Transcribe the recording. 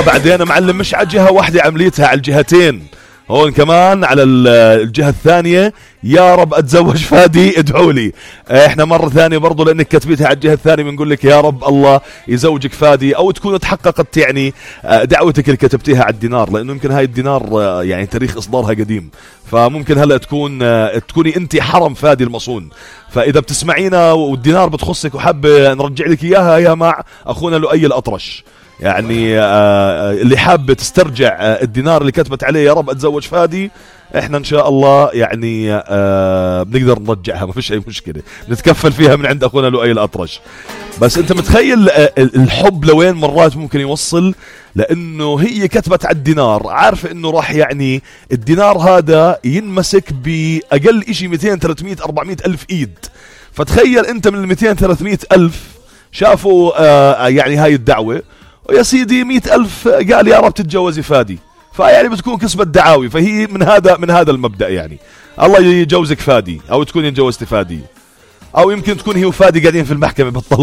عمليتها بعدين معلم، مش على جهة واحدة، عمليتها على الجهتين. هون كمان على الجهة الثانية، يا رب أتزوج فادي ادعوا لي. احنا مرة ثانية برضو لأنك كتبتها على الجهة الثانية بنقول لك يا رب الله يزوجك فادي، أو تكون تحققت يعني دعوتك اللي كتبتيها على الدينار، لأنه يمكن هاي الدينار يعني تاريخ إصدارها قديم، فممكن هلأ تكوني أنت حرم فادي المصون. فإذا بتسمعينا والدينار بتخصك وحابة نرجع لك إياها، يا مع أخونا لؤي الأطرش، يعني اللي حابة تسترجع الدينار اللي كتبت عليه يا رب أتزوج فادي، احنا ان شاء الله يعني بنقدر نرجعها، ما فيش اي مشكلة، نتكفل فيها من عند اخونا لؤي الأطرش. بس انت متخيل الحب لوين مرات ممكن يوصل؟ لانه هي كتبت على الدينار عارفة انه راح يعني الدينار هذا ينمسك باقل اشي 200 300 400 الف ايد. فتخيل انت من 200 300 الف شافوا يعني هاي الدعوة، ويا سيدي 100 الف قال يا رب تتجوزي فادي، فيعني بتكون كسبت دعاوي. فهي من هذا المبدأ، يعني الله يجوزك فادي، او تكون يتجوزت فادي، او يمكن تكون هي وفادي قاعدين في المحكمة بتطلق.